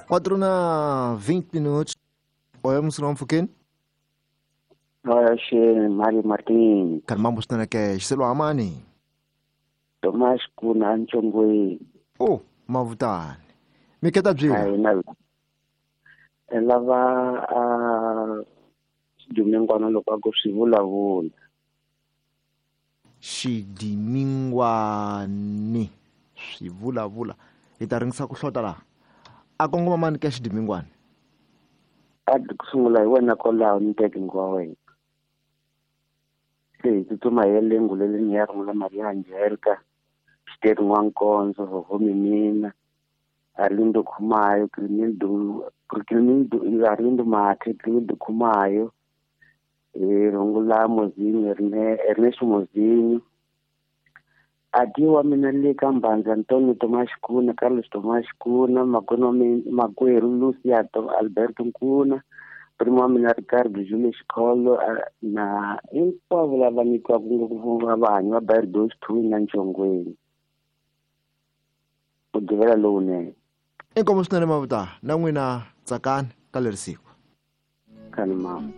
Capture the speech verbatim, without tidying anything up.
Quatro na vinte minutos. Oi, Munghana mpfhukeni. Oxe, Mário Martins. Karhi mambo swinene ke xiselo amani. Tomás Kuna Nchongweni. Oh, mavutani. Miketa byi. Ai na. Lava a xidimingwana loko a ku swi vulavula. Xidimingwani swi vulavula. Hi ta ringisa ku hlota laha. A kongoma mani ka xidimingwani? A ku sungula hi wena kwalaho ni teke wa wena. Se hi tsutsuma hi ya le nguleleni ya rungula Maria Angelica, Xiteri N'wankonzo, Hoho Mimina, Arlindo Khumayo, Crimildo, Crimildo, Arlindo Mathe, Crimildo Khumayo, eh, rungula Mozinho, Ernesto Mozinho. Adi wa mina le ka Mbanza, Antonio Tomás Kuna, Carlos Tomás Kuna, makwenu wa mina makwerhu Lucia Alberto Nkuna, primo wa mina Ricardo Julius Xikholo na hinkwavo lava ni twaka ngopfu va vanhu va Bardos two na Nchongweni. Mugqivela lowunene. Inkomu swinene mavuta na n'wina tsakani ka leri siku. Kani mama.